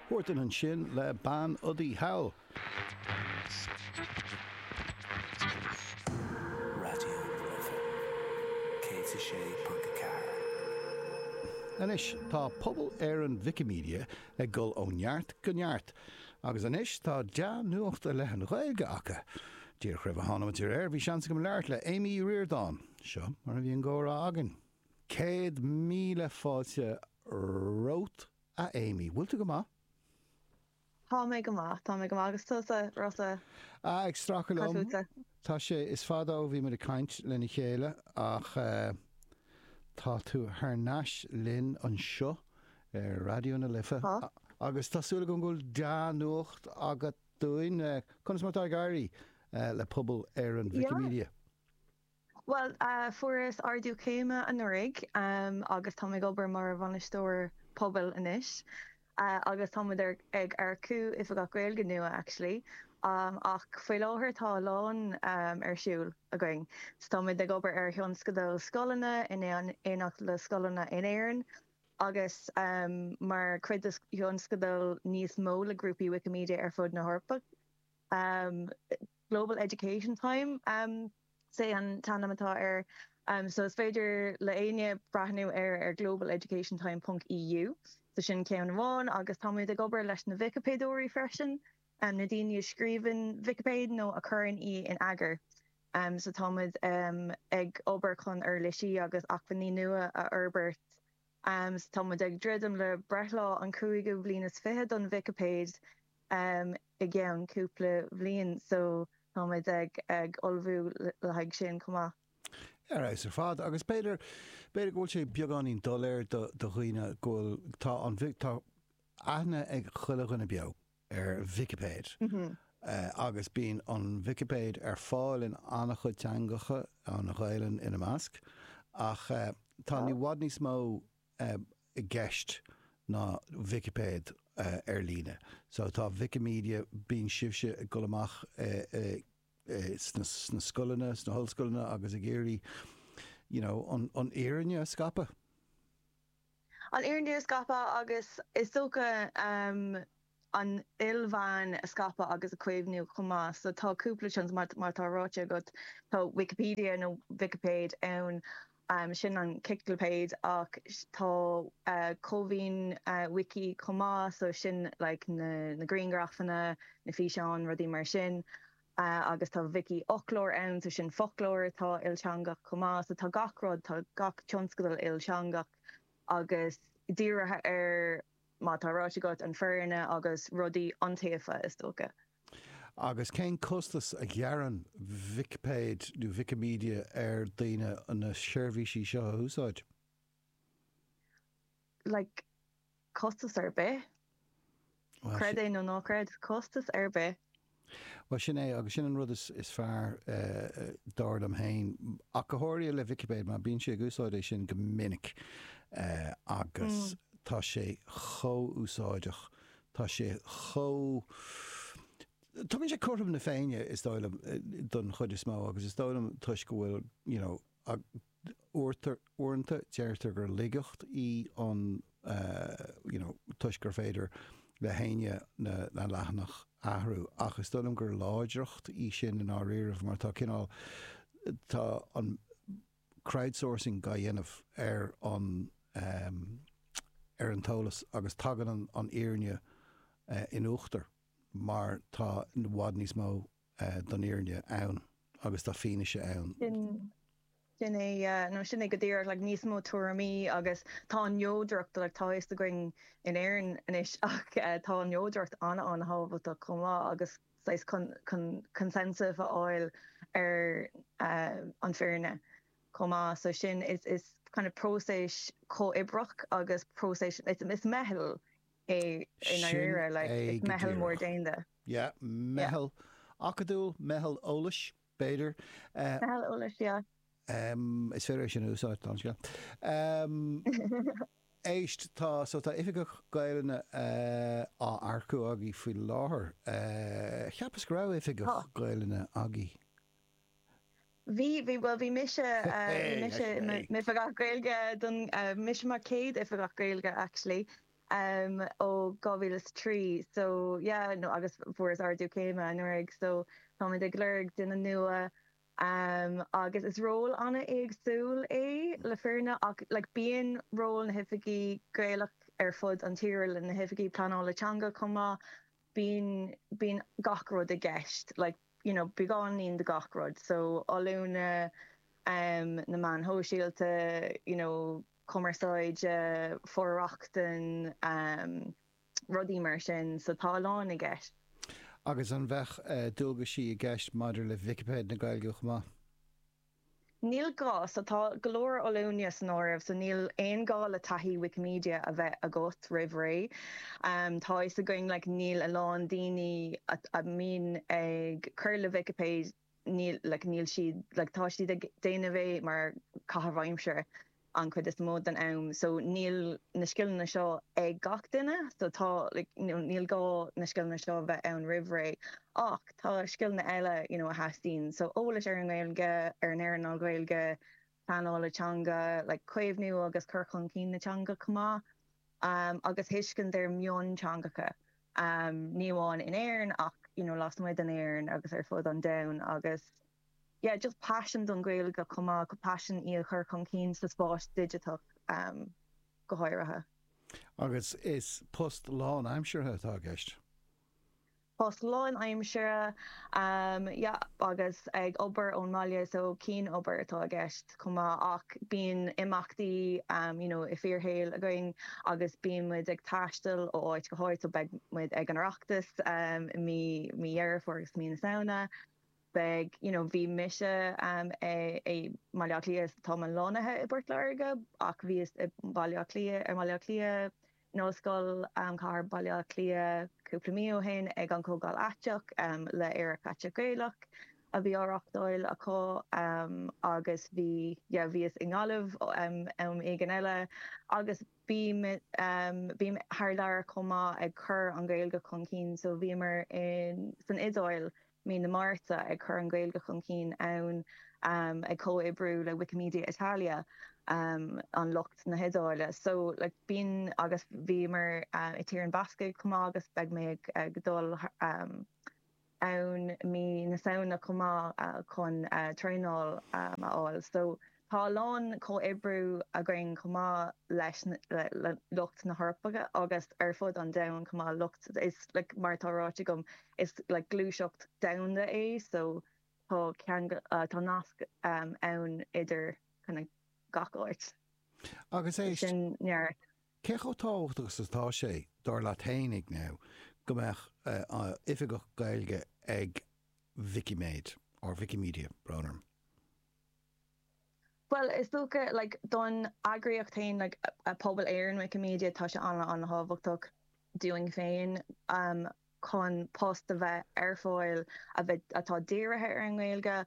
Huartan ansin le Bean Udaí Thall. Raidió na Life 106.4. Anois, tá pobal Éireann Wikimedia ag dul ó neart go neart, agus anois tá dea-nuacht i leith an Ghaeilge acu. Díreach roimh a tháinig muid ar aer, bhí seans agam labhairt le Amy Uí Ríordáin. Seo mar a bhí an gcomhrá againn. 100,000 fáilte romhat, a Amy. Bhfuil tú go maith? Tá mé go maith, tá mé go maith. Agus tusa, Rossa? Ah, ag stracadh Cad liom. fútsa? Tá sé, is fada ó bhí muid ag caint lena chéile ach tá tú thar n-ais linn anseo ar Raidió na Life Tá. agus tá súil agam go bhfuil dea-nuacht agat dúinn. Conas mar atá ag éirí le pobal Éireann Yeah. Wikimedia? Bhuel, fuaireas ardú céime anuraidh agus táim ag obair mar bhainisteoir pobail anois agus táimid ag earcú oifigeach Gaeilge nua actually ach faoi láthair tá a lán ar siúl againn. So táimid ag obair ar thionscadal scoileanna in éineacht le scoileanna in Éirinn agus mar chuid de thionscadal níos mó le grúpaí Wikimedia ar fud na hEorpa. Global Education Time is é an t-ainm atá air. So is féidir le éinne breathnú air ar globaleducationtime ponc EU. So sin ceann amháin agus táimid ag obair leis na Vicipéadóirí freisin, na daoine a scríobhann Vicipéid nó a chuireann í in eagar. So táimid ag obair chun uirlisí agus acmhainní nua a fhorbairt. So táimid ag druidim le breithlá an cúigiú bhliain is fiche don Vicipéid. i gceann cúpla bhliain so táimid ag ag ullmhú le haghaidh sin chomh maith. Ar fheabhas ar fad. Agus b'fhéidir, b'fhéidir go bhfuil sé beagáinín doiléir do do dhaoine go bhfuil, tá an, tá aithne ag chuile dhuine beo ar Vicipéid agus bíonn an Vicipéid ar fáil in an-chuid teangacha, an Ghaelainn ina measc, ach tá i bhfad níos mó i gceist ná Vicipéid ar líne. So tá Wikimedia, bíonn sibhse ag dul amach sna scoileanna, sna hollscoileanna agus ag iarraidh you know an fhírinne a scaipeadh. An fhírinne a scaipeadh agus is dócha an ilmheán a scaipeadh agus a chaomhnú chomh maith. So tá cúpla tionscadal, mar atá ráite agat, tá Wikipedia nó Vicipéid ann, sin an chiclipéid, ach tá Cómhaoin Wiki chomh maith, so sin like na grianghrafanna, na físeáin, rudaí mar sin. Agus tá Vicífhoclóir ann, so sin foclóir atá ilteangach chomh maith. So tá gach rud, tá gach tionscadal ilteangach agus dírithe ar Mar atá ráite agat, an fhírinne agus rudaí iontaofa, is dócha. Agus cén costas a ghearrann Vicipéid nó Wikimedia ar daoine na seirbhísí seo a úsáid? Like, costas ar bith. Creid é nó ná creid, costas ar bith. Bhuel, sin é, agus sin an rud is fearr, dar liom féin, ach go háirithe le Vicipéid, mar bíonn sé ag úsáid é sin go minic agus tá sé chomh úsáideach, tá sé chomh, tugann sé cothrom na Féinne, is dóigh liom, don chuid is mó, agus is dóigh liom toisc go bhfuil, you know, Uaireanta, deirtear gur laigeacht í an you know toisc gur féidir le héinne na leathanach a athrú, ach is dóigh liom gur láidreacht í sin i ndáiríribh mar tá cineál, tá an crowdsourcing á dhéanamh ar an ar an t-eolas agus tagann an fhírinne in uachtar mar tá i bhfad níos mó don fhírinne ann agus tá fianaise ann. Sin, sin é, yeah, no sin é go díreach, like níos mó tuairimí agus tá an neodracht, like tá a fhios againn in Éirinn anois ach tá an neodracht an-an-thábhachtach chomh maith agus saghas con, con, consensus a fháil ar an fhírinne chomh maith. So sin, is, is kind of próiseas comhoibreach agus próiseas, is, is meitheal é i Sin ndáiríre, like é is go meitheal mór díreach. déanta. Yeah, Yeah. meitheal acadúil, meitheal eolais, b'fhéidir. Meitheal eolais, yeah. Is féidir é sin a úsáid, tá an scéal. Éist, tá, so tá oifigeach Gaelainne á earcú agaibh faoi láthair. Cheapas go raibh oifigeach Tá. Gaelainne agaibh. Bhí, bhí, bhuel bhí mise, bhí mise i m'oifigeach Gaeilge don, mise mar chéad oifigeach Gaeilge actually. ó 2003 so yeah no agus fuaireas ardú céime anuraidh so táimid ag lorg duine nua agus is ról an-éagsúil é le fírinne ach like bíonn ról na hoifigí Gaelach ar fud an tíre le na hoifigí pleanála teanga chomh maith bíonn bíonn gach rud i gceist like you know beagáinín de gach rud so oiliúna na meáin shóisialta you know cumarsáide for-rochtain rudaí mar sin so tá a lán i gceist. Agus an bheadh dualgaisí i gceist maidir le Vicipéid na Gaeilge chomh maith? Níl gá, so tá go leor oiliúna san áireamh so níl aon gá le taithí Wikimedia a bheith agat roimh ré. Tá fhios againn like níl a lán daoine a mbíonn ag cur le Vicipéid níl like níl siad like tá siad ag déanamh é mar caitheamh aimsire an chuid is mó den am so níl na scileanna seo ag gach duine so tá like you know níl gá na scileanna seo a bheith ann roimh ré ach tá scileanna eile you know a theastaíonn so eolas ar an nGaeilge ar an earnáil Ghaeilge pleanála teanga like caomhnú agus cur chun cinn na teanga chomh maith um agus tuiscint ar mhionteangacha um ní amháin in Éirinn ach you know lasmuigh den Éirinn agus ar fud an domhain agus yeah just paisean don Ghaeilge chomh maith, paisean í a chur chun cinn sa spás digiteach um go háirithe. Agus is post lánaimseartha atá i gceist? Post lánaimseartha, yeah, agus ag obair ón mbaile so cianobair atá i gceist chomh maith ach bíonn imeachtaí you know i bhfíorshaol againn agus bíonn muid ag taisteal ó áit go háit so beidh muid ag an Oireachtas i mí mí Dheireadh Fómhair agus mí na Samhna. Beidh, you know, bhí mise i mBaile Átha Cliath, táim lonnaithe i bPort Láirge ach bhíos i mBaile Átha Cliath, i mBaile Átha Cliath, in Ollscoil Chathair Bhaile Átha Cliath cúpla mí ó shin ag an Chomhdháil Aiteach le Aerach Aiteach Gaelach a bhí á reachtáil acu agus bhí, yeah, bhíos i nGaillimh am éigin eile agus bím, bím thar lear chomh maith ag cur an Ghaeilge chun cinn so bhíomar in, san Iodáil mí na Márta ag cur an Ghaeilge chun cinn ann, ag comhoibriú le Wikimedia Italia, an lucht na hIodáile. So like bíonn agus bhíomar i Tír an Bhascaigh chomh maith agus beidh mé ag dul ann mí na Samhna chomh maith chun traenáil a fháil. So tá a lán comhoibriú againn chomh maith leis le lucht na hEorpa agus ar fud an domhain chomh maith, lucht is like mar atá ráite agam is like gluaiseacht domhanda é so tá ceangal tá nasc ann idir kind of gach áit. Agus éist, Sin neart. cé chomh tábhachtach is atá sé, dar leat fhéinig now, go mbeadh oifigeach Gaeilge ag Wikimed, or Wikimedia, brón orm? Bhuel, is dócha, like, don eagraíocht féin, like, Pobal Éireann Wikimedia, tá sé an-an-thábhachtach dúinn féin chun post a bheith ar fáil a bheith, atá dírithe ar an nGaeilge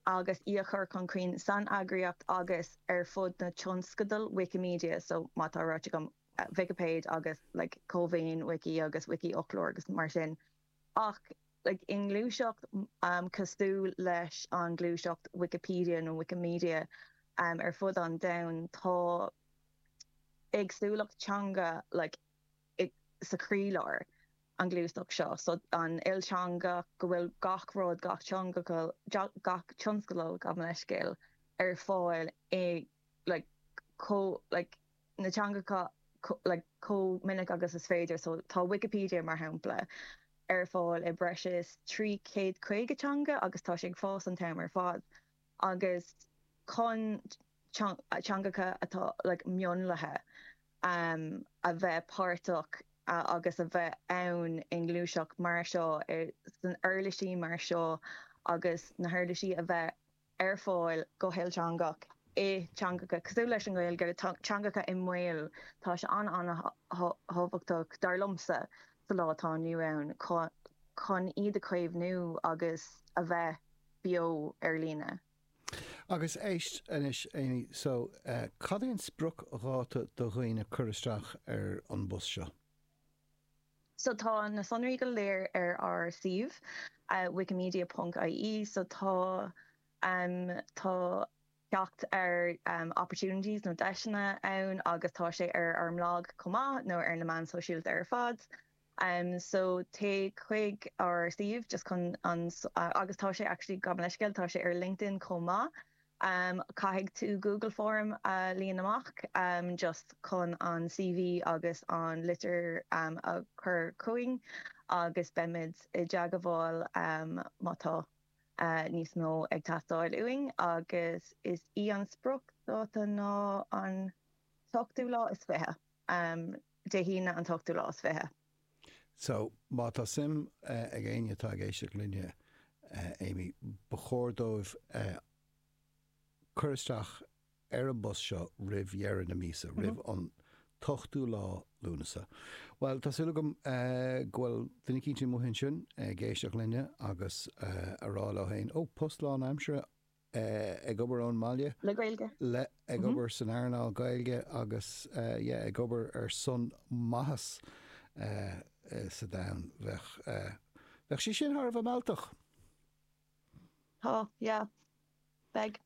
agus í a chur chun cinn san eagraíocht agus ar fud na tionscadal Wikimedia, so mar atá ráite agam, Vicipéid agus, like, Cómhaoin Wiki agus Wiki-fhoclóir agus mar sin. Ach like i ngluaiseacht cosúil leis an ngluaiseacht Wikipedia nó Wikimedia ar fud an domhain, tá éagsúlacht teanga like sa chroílár an ghluaiseacht seo. So an ilteangach, go bhfuil gach rud, gach teanga, gach tionscadal, gabh mo leithscéal, ar fáil i like chomh like na teangacha like chomh minic agus is féidir. So tá Wikipedia, mar shampla, ar fáil i breis is 350 teanga agus tá sé ag fás an t-am ar fad. Agus chun teangacha atá like mionlaithe um a bheith páirteach agus a bheith ann i ngluaiseacht mar seo, san uirlisí mar seo agus na huirlisí a bheith ar fáil go hilteangach i dteangacha cosúil leis an nGaeilge, teangacha i mbaol. Tá sé an-an-thábhachtach, dar liomsa, sa lá atá inniu ann chun iad a chaomhnú agus a bheith beo ar líne. Agus éist anois, Amy, so cad é an spriocdháta do dhaoine cur isteach ar an bpost seo? So tá na sonraí go léir ar ár suíomh, wikimedia ponc ie, so tá, tá. Teacht ar opportunities nó deiseanna ann agus tá sé ar ár mblag chomh maith nó ar na meáin sóisialta ar fad. So téigh chuig ár suíomh just chun an agus tá sé actually gabh mo leithscéal tá sé ar LinkedIn chomh maith. Caithfidh tú Google Form a líonadh amach just chun an CV agus an litir a chur chugainn agus beimid i dteagmháil má tá. níos mó ag teastáil uainn agus is í an spriocdháta ná an t-ochtú lá is 20, Dé hAoine an t-ochtú lá is 20. So, má tá suim ag éinne atá ag éisteacht linne, Amy, ba chóir dóibh cur isteach ar an bpost seo roimh dheireadh na míosa, roimh an t-ochtú lá Lúnasa. Bhuel, tá súil agam go bhfuil duine eicínt amuigh ansin ag éisteacht linne agus a rá leo féin, ó, post lánaimseartha ag obair ón mbaile. Le Gaeilge. Le, ag obair san earnáil Gaeilge agus, yeah, ag obair ar son maitheas sa domhan. Bheadh, bheadh sé sin thar a bheith mealltach. Tá, yeah. Beidh.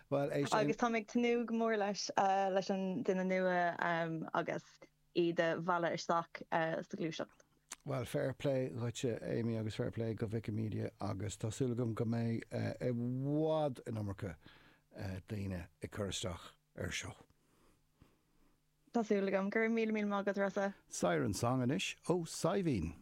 Bhuel, éist. Agus táim ag tnúth go mór leis, leis an duine nua agus iad a mhealladh isteach sa ghluaiseacht. Bhuel, fair play dhuitse, Amy, agus fair play go Wikimedia agus tá súil agam go mbeidh i bhfad an iomarca daoine ag cur isteach air seo. Tá súil agam. Go raibh míle míle maith agat, Rossa. Siren Song anois ó Saidhbhín.